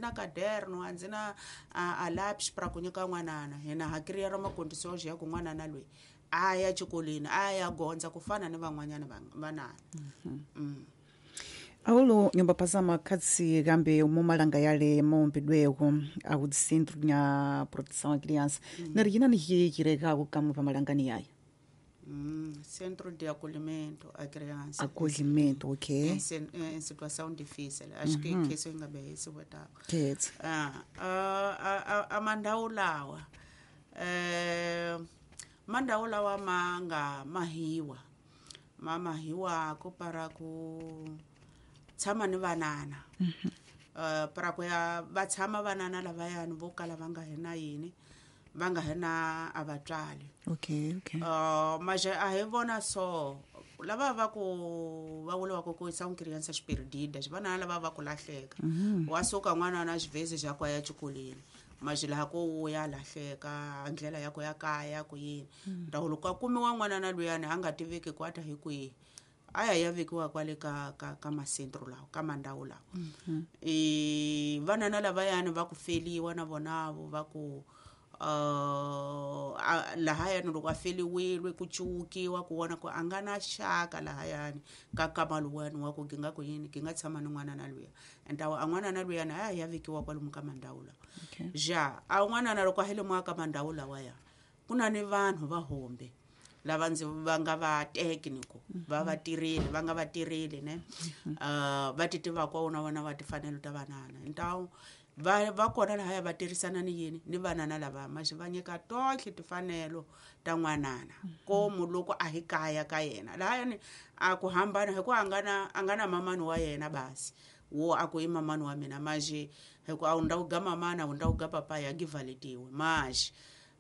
na caderno, a ndzi na a lápis para ku nyika n'wanana. Hina ha criar ma condições ya ku n'wanana loyi a ya xikolweni, a ya gondza ku fana ni van'wanyana vanana. Aulo nyumba pasama khatsi kambe mumalanga yale maumbidweko aku centro nya proteção à criança. Nari yina ni hirekaku kamwe pamalangani yaya? Centro de acolhimento à criança. Acolhimento, ok. Em situação difícil. Acho que isso yi nga be hi siwetaka. Khetsa. Ah, a mandhawu lawa, mandhawu lawa ma nga mahiwa, ma mahiwako para ku tshama ni vanana, para ku ya va tshama vanana lavayani vo kala va nga hi na yini, va nga hi na a vatswari. Okay. Mas a hi vona so lava va ku va vuriwaka ku são crianças perdidas, vana lava va ku lahleka. Wa suka n'wana na xivhezi xa ku ya xikolweni, mas laha ko ya lahleka ndlela ya ku ya kaya ku yini. Ndhawu loko a kumiwa n'wana na luyani a nga tiveki ku a ta hi kwihi, a ya ya vekiwa kwale ka masentro lawa, ka mandhawu lawa. I vanana lavayani va ku feliwa na vonavo va ku lahayani loko a feliwile ku cuwukiwa ku vona ku a nga na xaka lahayani ka kama luwani wa ku ginga ku yini gi nga tshama ni n'wana na luya. Ntawu a n'wana na luyani a ya vekiwa kwalomu ka mandhawu lawa. Ja a n'wanana loko a hi lemuka ka mandhawu lawaya, ku na ni vanhu va hombe lava ndzi va nga va técnico, va va tirheli, va nga va tirheli ne, va ti tivaka wona wona va timfanelo ta vanana. Ntawu va kona lahaya va tirhisana ni yini ni vanana lava, maxi va nyika tohle timfanelo ta n'wanana komu loko a hi kaya ka yena lahayani. A ku hambana hi ku a nga na mamani wa yena basi wo a ku i mamani wa mina, maxi hi ku a wu ndhawu ga mamana, a wu ndhawu ga papaya givaletiwe. Maxi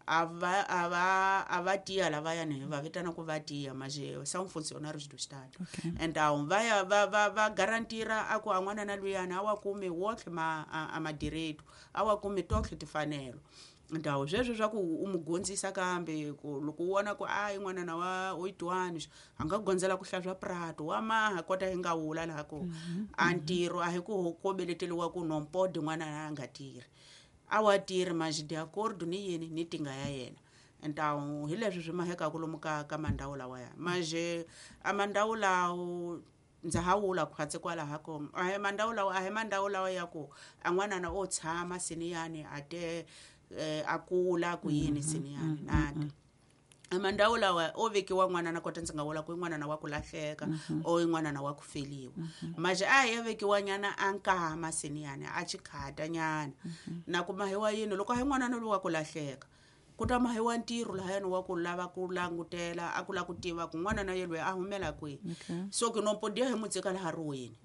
a va tiya lavayani hi va vitana ku va tiya, maxi são funcionários do estado. Então va ya va garantira a ku a n'wana na luyani a wa kumi wotlhe ma a madireito, a wa kumi totlhe timfanelo. Ndhawu sweswo swa ku u mu gondzisa kambe ku loko u vona ku a i n'wanana wa 8 a nga gondzela ku hlantswa prato wa maha kota hi nga wula laha ku a ntirho a hi ku kobeleteliwa ku non pode n'wana a nga tirhi, a wa tirhi mas de acordo ni yini ni tinga ya yena. Então hi leswi swi mahekaku lomu ka mandhawu lawaya. Mas a mandhawu lawo ndza ha wula khwatsi kwalaha ko a hi mandhawu lawa, a hi mandhawu lawa ya ku a n'wanana o tshama siniyani a te a kula ku yini siniyani nada. A mandhawu lawa o vekiwa n'wanana kota ndzi nga vula ku i n'wanana wa ku lahleka o i n'wanana wa ku feliwa, mas a ya vekiwa nyana a nkama siniyani a chikhata nyana na ku mahiwa yini. Loko a hi n'wanana lowu wa ku lahleka, ku ta mahiwa ntirho lahayani wa ku lava ku langutela a ku lava ku tiva ku n'wana na ye loyi a humela kwihi. So ke no podia hi mu tshika laha riweni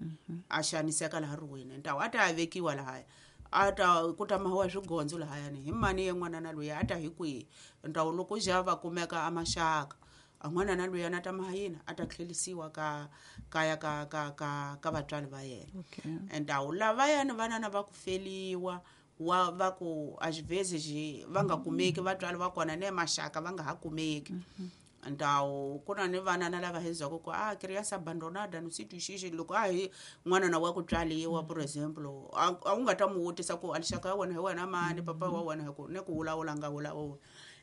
a xaniseka laha riweni. Ntawu a ta ya vekiwa lahaya, a ta ku ta mahiwa swigondzo lahayani hi mani ye n'wana na loyi a ta hi kwihi. Ntawu loko ja va kumeka a maxaka a n'wana na luyani a ta maha yini, a ta tlhelisiwa ka kaya ka vatswari va yena. Ntawu lavayani vanana va ku feliwa wa va ku às vezes va nga kumeki vatswari va kona ne maxaka va nga ha kumeki. Ntawu ku na ni vanana lava hi byaka ku a criança abandonada no sítio X. Loko a hi n'wanana wa ku tswaliwa, por exemplo, a wu nga ta mu vutisa ku a lixaka ya wena hi wena mani, papa wa wena hi ku ne ku vulavula nga vulavula.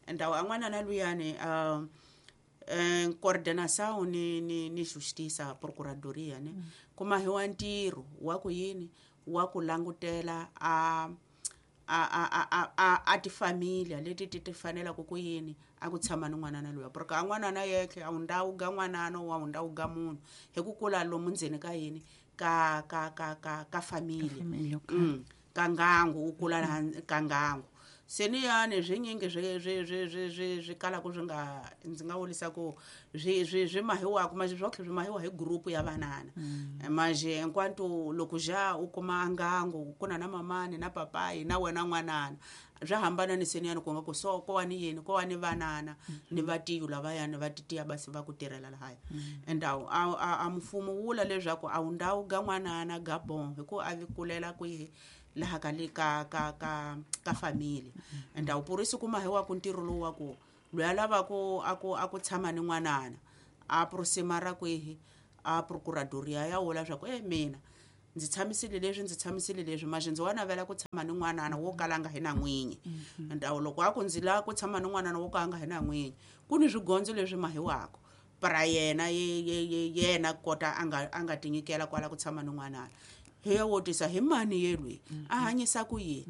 Ntawu a n'wanana luyani, coordenação ni justiça, procuradoria ne, ku mahiwa ntirho wa ku yini wa ku langutela a tifamília leti ti fanelaka ku yini a ku tshama ni n'wanana luya, porque a n'wanana yexe a wu ndhawu ga n'wanana wa wu ndhawu ga munhu hi ku kula lomu ndzeni ka yini ka família. Família, okay. Ka ngangu u kula laha ka ngangu seniyani swinyingi swi kalaka swi nga ndzi nga vurisa ku swi mahiwaka mas swotlhe swi mahiwa hi group ya vanana. Mas enquanto loko ja u kuma ngangu ku na na mamani na papayi na wena n'wanana, swa hambana ni seniyani ku nga ku so ko wa ni yini ko wa ni vanana ni vatiyu lavayani va titiya basi va ku tirhela lahaya. Endawu a mfumo wula leswaku a wu ndhawu ga n'wanana ga bon hi ku a vi kulela kwihi laha ka le ka família. Endawu por isso ku mahiwaku ntirho lowu wa ku loyi a lavaku a ku tshama ni n'wanana a aproximara kwihi a procuradoria ya vula swa ku e mina Ndzi tshamisile leswi, ndzi tshamisile leswi, maxe ndzi wa navela ku tshama ni n'wanana wo kala nga hi na n'winyi. Ndawu loko a ku ndzi lava ku tshama ni n'wanana wo kala nga hi na n'winyi, ku ni swigondzo leswi mahiwaka para yena yena kota a nga tinyikela kwala ku tshama ni n'wanana. Hi ya wotisa hi mani ye lweyi a hanyisa ku yini.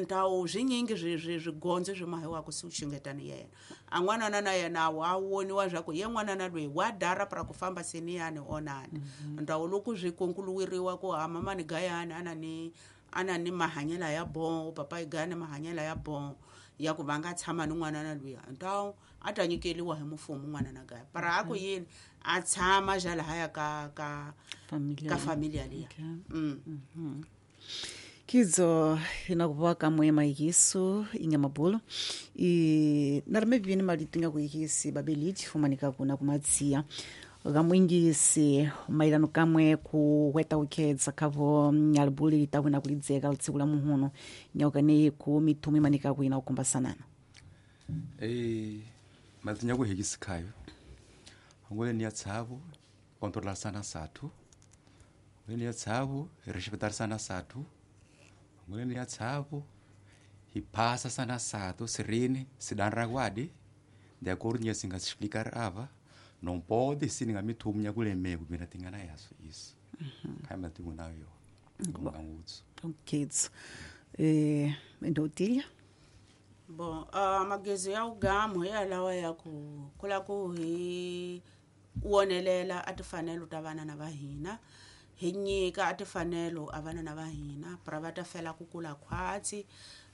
Ndhawu swinyingi swigondzo swi mahiwaka si xungetani yena. A n'wanana na yena wa woniwa swa ku ye n'wanana loyi wa dara para ku famba seniyani onani. Ndhawu loko swi konkuluweriwa ku a mamani gayani ana ni mahanyelo ya bon, papa gayani mahanyelo ya bon ya ku va nga tshama ni n'wanana luya, ndhawu a ta nyikeliwa hi mfumo n'wanana gaya. Para a ku yini a tshama ja lahaya ka Familia. Ka familia liya. Kidzo inakuva kamwe maikiso inyamabolo i narimevini malitinga kuikisi babeliti fumanika kuna kumatsiya kamwingisi mailano kamwe kuweta ukhedza khavo nyalibuli litawina kulidzeka litsiku la muhuno nyaukaneyi ku mithumu imanika kuina kukumbasanana. Matinya kuhekisi khayo angole ni ya tshavu kontrola sana sathu, angole ni ya tshavu hi respectar sathu, angole ni ya tshavu hi phasa sana sathu serene sidan rakwadi de acordo nya singa explicar ava não pode se ninga mithumu nya kulemeko mina tingana yaso isso khayo matimu nayo ngangutsu. Kidzo ndotilya. Bon, magezi ya ugamu hi yalawa ya ku kula ku hi wonelela a tifanelo ta vana na va hina, hi nyika a tifanelo a vana na va hina para va ta fela ku kula khwatsi,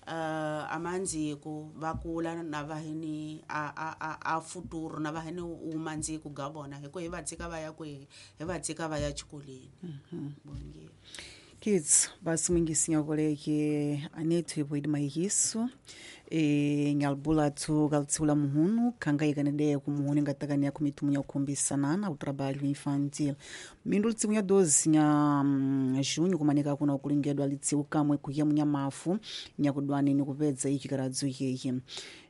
a mandziko va kula na va hini a futuro na va hini umandziko ga vona hi ku hi va tshika va ya kwihi, hi va tshika va ya xikolweni. Bongi. Kids basi mwingisi nyakoleke anethu ipoidi maikiso nyalibula athu kalitsiku la muhunu khangaikanede kumuhunu ingatakani ya kumithumu ya kukhumbisanana o trabalho infantil mindu litsiku nya 12 nya junho kumanika kuna kulingedwa litsiku kamwe kuya munyamafu nyakudwani nikupedza ichikaradzo iyeyi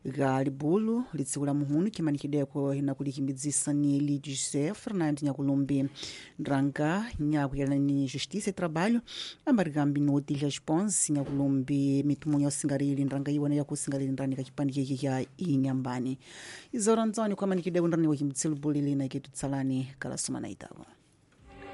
ga libulu litsiku la muhunu khimanikideko inakulikimbidzisa ni Elidio José Fernando Nyakulumbi ndranga nyakuyelana ni Justiça e Trabalho ambarikambi no Otília Response Nyakulumbi mitumu ya usingalili ndranga iwona yakusingalili ndrani kachipandikeki ya inyambani izora ntsoni khwamanikideko ndrani wakimbidzisa libulu lina iketutsalani kalasomana itako.